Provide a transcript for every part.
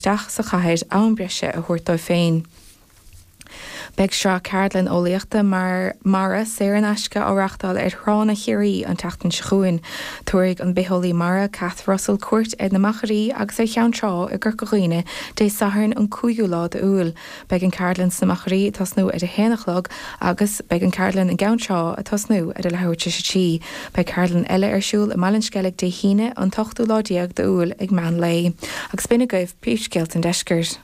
Isteach sa chathair am breise a thabhairt dóibh féin. Beidh sraith ceardlann eolaíochta mara saor in aisce á reáchtáil ar thránna Chiarraí an tseachtain seo chugainn. Tabharfaidh an bitheolaí mara Cath Russell cuairt ar na Machairí agus ar Cheann Trá i gCorca Dhuibhne Dé Sathairn an 5ú lá d'Iúil. Beidh an ceardlann sna Machairí ag tosnú ar a haon a chlog agus beidh an ceardlann i gCeann Trá ag tosnú ar a leathuair tar éis a 3. Beidh ceardlann eile ar siúl i mBaile an Sceilg Dé hAoine an t-ochtú lá déag d'Iúil ag meán lae. Agus b'in agaibh príomhscéalta an deiscirt.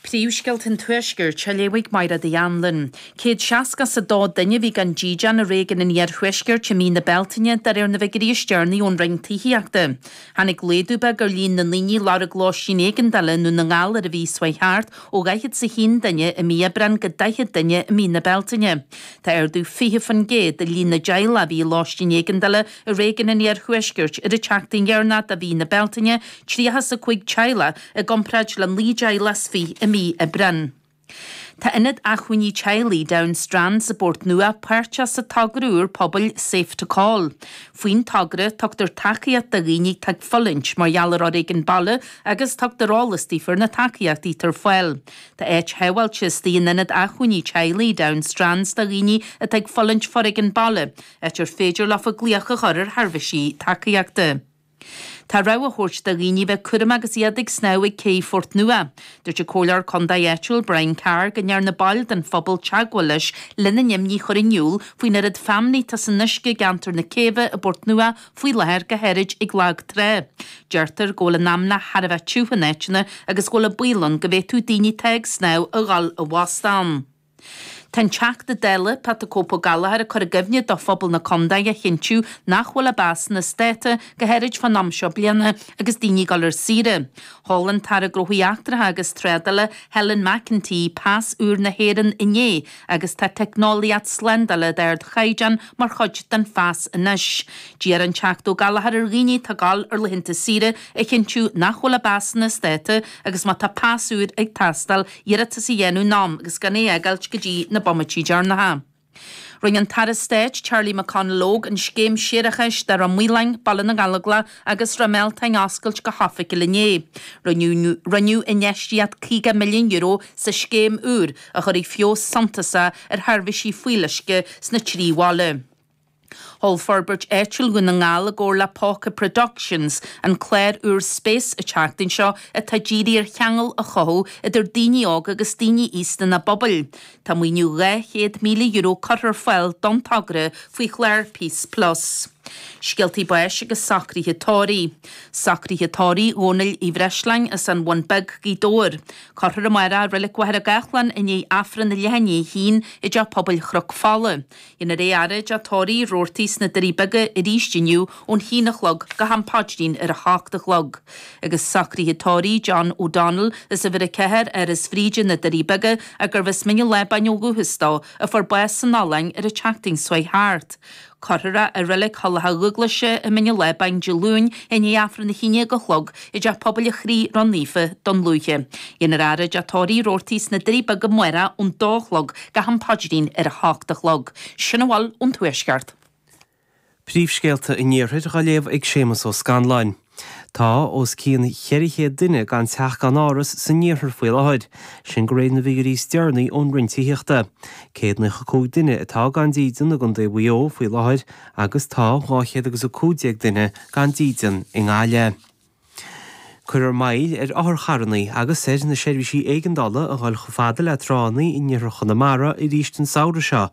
Príomhscéalta an Tuaiscirt á léamh ag Mairéad Uí Anluain. 162 duine a bhí gan dídean i réigiún an Iarthuaiscirt i mí na Bealtaine, de réir na bhfigiúirí is deireanaí ón Roinn Tithíochta. Tháinig laghdú beag ar líon na ndaoine a lorg lóistín éigeandála i nDún na nGall ar an mhí seo chuaigh thart, ó 41 duine i mí Aibreáin go 40 duine i mí na Bealtaine. Tá ardú 20% i líon na dteaghlach a bhí i lóistín éigeandála i réigiún an Iarthuaiscirt ar an tseachtain dheireanach de mhí na Bealtaine, 35 teaghlach i gcomparáid le 19 dteaghlach i mí Aibreáin. Tá Ionad Acmhainní Teaghlaigh Down Strands i bPort Nua páirteach sa togra úr pobail Safe to Call. Faoin togra, tugtar tacaíocht do dhaoine atá ag fulaingt mar gheall ar fhoréigean baile agus tugtar eolas daofa ar na tacaíochtaí atá ar fáil. Tá áit shábháilte istigh in Ionad Acmhainní Teaghlaigh Down Strands do dhaoine atá ag fulaingt foréigean baile, áit ar féidir leofa glaoch a chur ar sheirbhísí tacaíochta. Tá rabhadh á thabhairt do dhaoine bheith cúramach agus iad ag snámh ag cé Phort Nua. Dúirt an Comhairleoir Contae áitiúil Brian Carr go ndearna baill den phobal teagmháil leis lena n-imní a chur in iúl faoin oiread feamnaí atá san uisce i gceantar na céibhe i bPort Nua faoi láthair go háirid ag lag trá. Deirtear go bhfuil an fheamnach thar a bheith tiubh in áiteanna agus go bhfuil an baol ann go bhféadfadh daoine atá ag snámh a dhul i bhfostú ann. Tá an Teachta Dála, Pat the Cope Ó Gallchóir ag cur i gcuimhne do phobal na condae a chinntiú nach bhfuil a bpasanna as dáta, go háirid fán am seo bliana agus daoine ag dul ar saoire. Sheol an tAire Gnóthaí Eachtracha agus Trádála, Helen McEntee, pas úr na hÉireann inné agus tá teicneolaíocht slándála d'ardchaighdeán mar chuid den phas anois. D'iarr an Teachta Ó Gallchóir ar dhaoine atá ag dul ar laethanta saoire a chinntiú nach bhfuil a bpasanna as dáta agus má tá pas úr ag teastáil, iarratas a dhéanamh in am agus gan é a fhágáilt go dtí na bomaití deireanacha. Rinne an tAire Stáit Charlie McConalogue an scéim séarachais do Ráth Maoláin, Baile na nGallóglach agus Ráth Mealtain a oscailt go hoifigiúil inné. Rinneadh infheistíocht €50 milliún sa scéim úr a chuirfidh feabhas suntasach ar sheirbhísí fuíolluisce sna trí bhaile. Sheol Forbairt Áitiúil Dhún na nGall i gcomhar le Póca Productions an clár úr Space an tseachtain seo atá dírithe ar cheangal a chothú idir daoine óga agus daoine aosta ina bpobail. Tá maoiniú €200,000 curtha ar fáil don togra faoi chlár Peace Plus. Scéaltaí báis agus socruithe tórraimh. Socruithe tórraimh Dhónaill Uí Bhreisleáin as an Bhun Beag, Gaoth Dobhair. Cuirfear amárach i Reilig Mhachaire Gathlán i ndiaidh Aifreann a leath i ndiaidh a haon i dTeach Pobail Chnoc Fola. Déanfar é a fhaire i dteach tórraimh Roarty sna Doirí Beaga arís inniu ón haon a chlog go ham paidrín ar a hocht a chlog. Agus socruithe tórraimh John O'Donnell as uimhir 4, Áras Bhríde, na Doirí Beaga, gurbh as Mín an Lábáin ó dhúchas dó, a fuair bás san Ollainn ar an tseachtain seo chuaigh thart. Cuirfear é i Reilig Thulach Dhúglaise i Mín an Lábáin Dé Luain i ndiaidh Aifreann a haon déag a chlog i dTeach Pobail an Chroí Ró-Naofa, Dún Lúiche. Déanfar a fhaire i dteach tórraimh Roarty sna Doirí Beaga amárach ón dó a chlog go ham paidrín ar a hocht a chlog. Sin a bhfuil ón Tuaisceart. Príomhscéalta an Iarthair á léamh ag Séamus Ó Scanláin. Tá os cionn 400 duine gan teach gan áras san iarthar faoi láthair, sin de réir na bhfigiúirí is deireanaí ón Roinn Tithíochta. 195 duine atá gan dídean i gContae Mhaigh Eo faoi láthair agus tá 215 duine gan dídean i nGaillimh. Cuirfear moill ar otharcharranna agus ar na seirbhísí éigeandála a dhul chomh fada le tránna in iarthar Chonamara arís an samhradh seo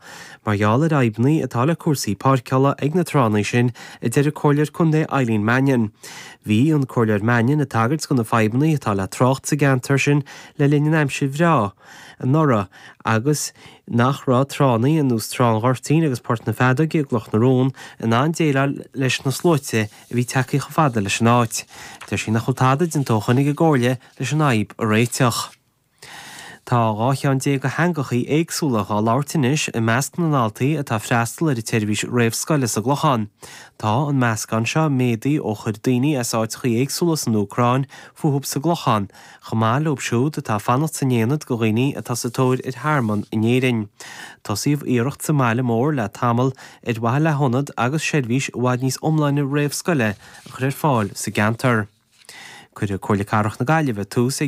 mar gheall ar fhadhbanna atá le cúrsaí páirceála ag na tránna sin, a deir an Comhairleoir Contae Eileen Mannion. Bhí an Comhairleoir Mannion ag tagairt do na fadhbanna atá le trácht sa gceantar sin le linn an aimsir bhreá anuraidh agus nach raibh tránna ar nós Trá an Ghoirtín agus Port na Feadóige i gCloch na Rón in ann déileáil leis na sluaite a bhí tagtha chomh fada leis an áit. Deir sí nach bhfuil tada déanta ó shoin ag an gComhairle leis an fhadhb a réiteach. Tá 12 cheann de theangachaí éagsúla dhá labhairt anois i measc na ndaltaí atá ag freastal ar an tseirbhís réamhscoile sa gClochán. Tá an meascán seo méadaithe ó chuir daoine as áiteachaí éagsúla san Úcráin fúthu sa gClochán, chomh maith leo siúd atá ag fanacht san aonad do dhaoine atá sa tóir ar thearmann in Éirinn. Tosaíodh iarracht sa mbaile mór le tamall ar mhaithe le hionad agus seirbhís i bhfad níos iomláine réamhscoile a chur ar fáil sa gceantar. Cuirfidh Comhairle Cathrach na Gaillimhe tús ag.